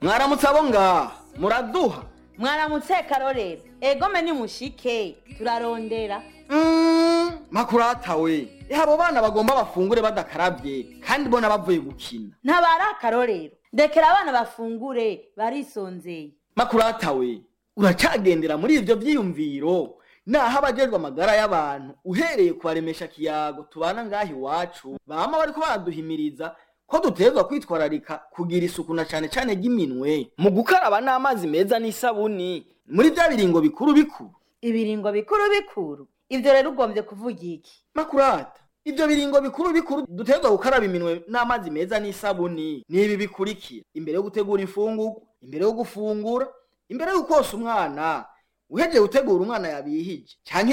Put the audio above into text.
Mwaramutse abo ngaha muraduha. Mwaramutse Karorero, egome ni mushike turarondera. Makurata we, abo bana bagomba bafungure badakaravye kandi bona bavuye gukina. Ntabara Karorero, ndekera abana bafungure barisonzeye. Makurata we, uracagendera muri ivyo vyiyumviro naho abajejwe amagara y'abantu uhereye kubaremesha kiyago tubana ngaha iwacu bama bariko baraduhimiriza ko dutegerezwa kwitwararika kugira isuku na cane cane ry'iminwe mu gukaraba n'amazi meza n'isabuni muri vya biringo bikuru bikuru. Ibiringo bikuru bikuru, ivyo rero ugombye kuvuga iki? Makurata, ivyo biringo bikuru bikuru dutegerezwa gukaraba iminwe n'amazi meza n'isabuni ni ibi bikurikira: imbere yo gutegura imfungurwa, imbere yo gufungura, imbere yo kosa umwana, uhejeje gutegura umwana yabihije canke